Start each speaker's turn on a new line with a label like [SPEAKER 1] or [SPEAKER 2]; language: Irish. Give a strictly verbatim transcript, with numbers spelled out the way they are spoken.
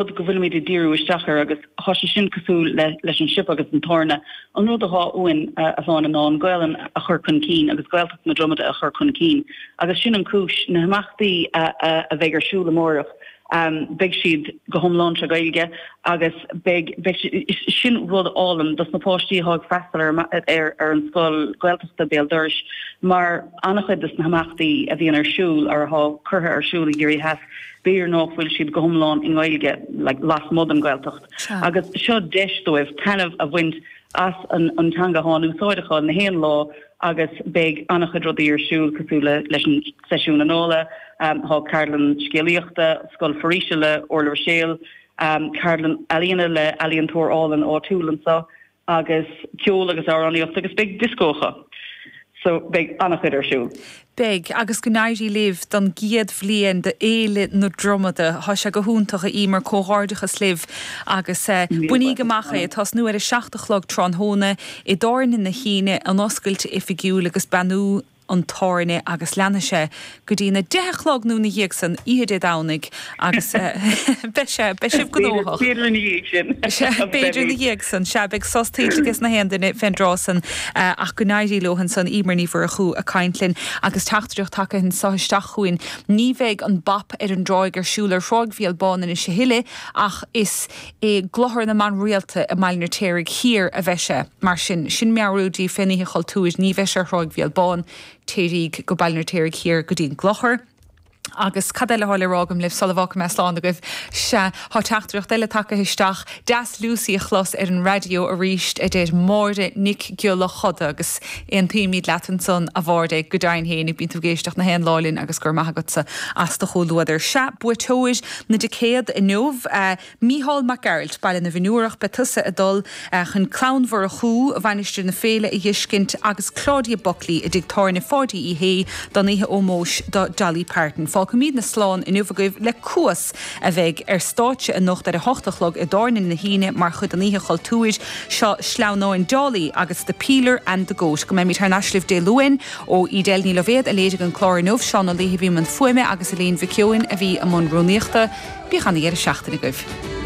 [SPEAKER 1] rud go bhfuilimid ag díriú isteach air agus tá sé sin cosúil le leis an siopa agus an tábhairne an rud atá uainn a Shláine ná an Ghaelainn a chur chun cinn agus Gaeltacht na Dromada a chur chun cinn agus sin an cúis na himeachtaí a, a, a bheidh ar siúl amárach um, beidh siad go hiomlán sa Ghaeilge agus beidh beidh sin rud álainn dos na páistí atá ag freastal ar, ar, ar an scoil Gaeltachta Béal Dorais mar an-chuid des na himeachtaí a bhíonn ar siúl ar atá curtha ar siúl i gCiarraí Theas b'fhéidir nach bhfuil siad go hiomlán i nGaeilge like, lasmuigh den Ghaeltacht. Agus seo deis dóibh taitneamh a bhaint as an, an teanga atá in úsáid acu na haon lá agus beidh an-chuid rudaí ar siúl cosúil le leis an seisiún anála, um, tá ceardlann scéalaíochta, scoil foraoise le Orla Ruiséal, um, ceardlann ealaíne le ealaíontóir álainn áitiúil anseo agus ceol agus amhránaíocht agus beidh disco acu. So beidh an-chuid ar siúl.
[SPEAKER 2] Beidh agus go n-éirí libh don gcéad bhliain de Fhéile na Dromada Tá sé go hiontach a Emer comhghairdeachas libh agus uh, bainigí amach é tosnú ar a seacht a chlog tráthnóna i dTábhairne na hAoine an oscailt oifigiúil agus beannú an tábhairne agus leanfaidh sé go dtí na deich a chlog nó ina dhiaidh san oíche Dé Domhnaigh agus beidh sé beidh sibh gnóthach. B'fhéidir ina dhiaidh san sea beidh sos tuillte ag na haon duine fén dtráth san ach go n-éirí leo ansan Emer Ní Mhurchú ag caint linn agus teachtaireacht tagtha anseo isteach chugainn. Ní bheidh an Bap ar an dTráigh ar siúl ar Thráigh Bhéal Bán anois a thuilleadh ach is i gClochar na mBan Rialta i mBaile an Fheirtéaraigh Thiar a bheidh sé mar sin sin meabhrú daoibh fén Oíche Chultúir ní bheidh sé ar Thráigh Bhéal Bán téiríg go Baile an Fheirtéaraigh Thiar go dtí an gClochar. Agus cad eile atá le rá agam libh sula bhfágfaidh mé slán agaibh sea tá teachtaireacht eile tagtha isteach deas Lucy a chlos ar an raidió arís a deir Máire Nic Giolla Choda agus aontaímid leat ansan a Mháire go deimhin féin bíonn tú ag éisteacht na haon lá linn agus gur maith agatsa as do chomhluadar. Sea buaiteoir na dticéad inniu uh, Mícheál Mac Gearailt Baile na bhFionnúrach beidh tusa ag dul uh, chun Clann Mhurchú Mhainistir na Féile a fheiscint agus Claudia Buckley i dtigh tábhairne Pháidí Uí Shé don oíche ómóis do Dolly Parton. Fágfaimidne slán inniu agaibh le Cuas a bheidh ar stáitse anocht ar a hocht a chlog i dTábhairne na hAoine mar chuid den Oíche Chultúir seo sleamhnáin Dolly agus the Peeler and the Goat go mbeimid thar n-ais libh Dé Luain ó Edel Ní Loibhéad a léirigh an clár inniu Seán Ó Laoithe a bhí i mbun fuaime agus Elaine Mhic Eoin a bhí i mbun rúnaíochta, bíodh an-deireadh seachtaine agaibh.